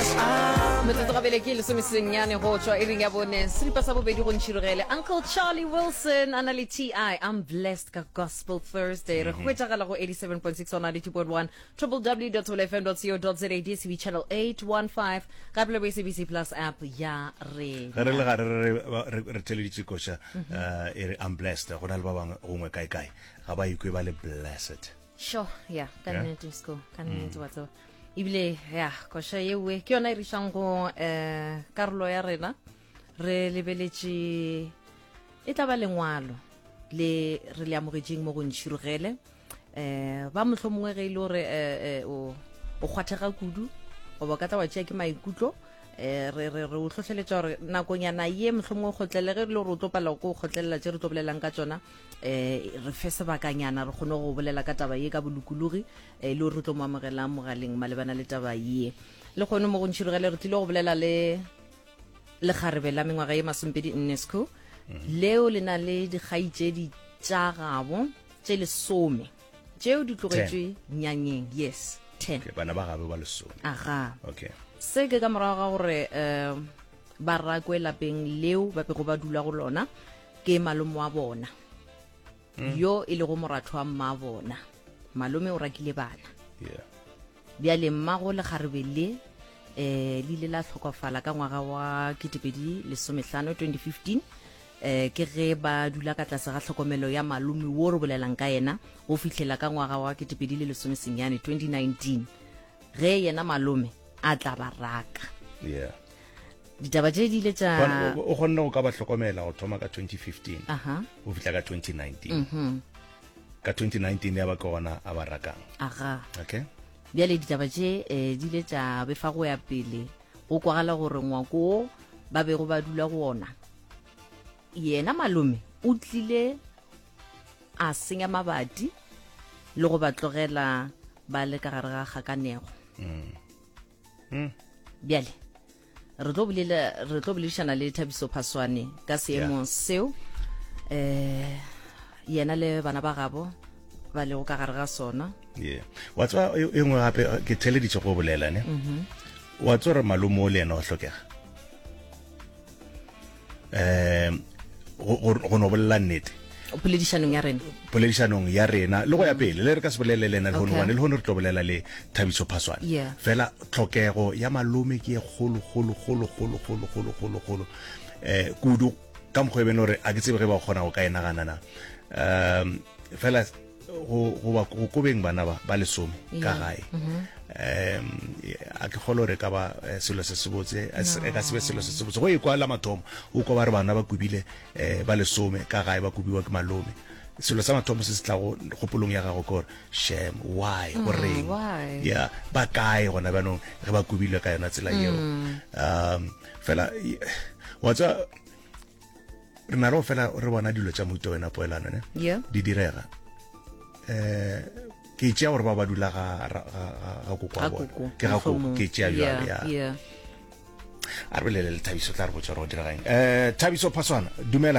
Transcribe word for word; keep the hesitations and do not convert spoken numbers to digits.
Metsotso gabele ke lesomesenyane go tšwa iring ya bone, seripa sa bobedi go ntšhirogele. Uncle Charlie Wilson a na le T I, I'm Blessed ka Gospel Thursday. Re hwetšagala go eighty-seven point six on ninety-two point one, w w w dot f m dot co dot za, D S T V channel eight one five, gape le bo S A B C Plus app ya Ge re le rena. Gare re re re theleditše koša eh, e re "I'm blessed", go na le ba bangwe gongwe kae kae ga ba ikwe ba le blessed. Sure, ya, ka Yeah. nnete sko, ka nnete, wa tseba, ebile ya koša yewe ke yona e rišang go um karolo ya rena. Re lebeletše e tla ba lengwalo le re le amogetšeng mo go ntšhirogele um ba motlho mongwe ge e le gore eh, eh, o o kgwathega kudu goba o ka tla wa tšea ke maikutlo, um re re re o hlohleletša gore nakonyana ye motlho mongwe kgotlelele ge e le gore o tlo palelwa ko kgotlelela tše re tlo bolelang ka tšona, um re fe sebakanyana re kgone go bolela ka taba ye ka bolokologi, um le gore re tlo mo amogelang mogaleng malebana le taba ye. Le kgone mo go ntšhirogele re tlile go bolela le lekgarebe la mengwaga ye masomepedi nne sco, leo le na le dikgaitšedi tša gabo tše lesome tšeo di tlogetšwe nyanyeng. Yes, ten. Okay, bana ba gabe ba lesome. Aga. Okay. Se ke ka morago ga gore um ba rakwe lapeng leo ba bego ba dula go lona ke malome wa bona yo e lego moratho wa mma bona. Malome o rakile bana. Yeah bjale mmago lekgarebe le um le ile la hlokofala ka ngwaga wa ketepedi lesomehlano, twenty fifteen. um ke ge ba dula ka tlase ga tlhokomelo ya malome wo re bolelang ka yena go fihlela ka ngwaga wa ketepedi le lesomesenyane, twenty nineteen, ge yena malome a tla ba raka. Yeah ditaba tše di ile tša Gona- o o kgonne go ka ba hlokomela go thoma ka twenty fifteen aha go fihla ka twenty nineteen. Ka twenty nineteen ya ba ke gona a ba rakang. Aga. Okay. Bjale ditaba tše um di ile tša befa go ya pele, go kwagala gore ngwako wo ba bego ba dula go ona, yena malome o tlile a senya mabati le go ba tlogela ba le ka gare ga kgakanego. Bjale re tlo bolela re tlo boledišana le Thabiso Phaswane ka seemo seo um yena le bana ba gabo ba lego ka gare ga sona. Yeah, wa tseba, e e nngwe gape ke theleditše go bolela ne, wa tseba gore malome o le yena wa hlokega um go go- go no bolela nnete. Poledišanong ya rena. Poledišanong ya rena le go ya pele le re ka se bolele le ena lehono Okay. gobane lehono re tlo bolela le Thabiso Phaswane. Yeah. Fela tlhokego ya malome ke ye kgolo kgolo kgolo kgolo kgolo kgolo kgolo kgolo um kudu ka mokgwa e bene gore a ke tsebe ge ba kgona go ka e nagana na. um fela go go ba go kobeng bana ba ba lesome ka Yeah. gae, um a ke kgolo gore e ka ba eh, selo se se botse, e se- e ka se be selo se se botse go e kwa la mathomo o kwa ba re bana ba kubile um ba lesome ka gae, ba kubiwa ke malome. Selo sa mathomo se se tlago kgopolong ya gago ke gore, shame, why, goreng? Why? Ya, ba kae gona bjanong ge ba kubilwe ka yona tsela yeo? um fela y- wa tseba, re na le go fela re bona dilo tša mohuta wena poelano ne Yeah. di direga. um ke tšea gore ba ba dula ga ga- ga ga koko wa Ga bona. koko, Ke ga koko. mohlomong. Ke tšea bjalo. Yeah, Ya, yeah. a re bolele le Thabiso, tla re botša gore go diregang. um Thabiso Phaswana, dumela.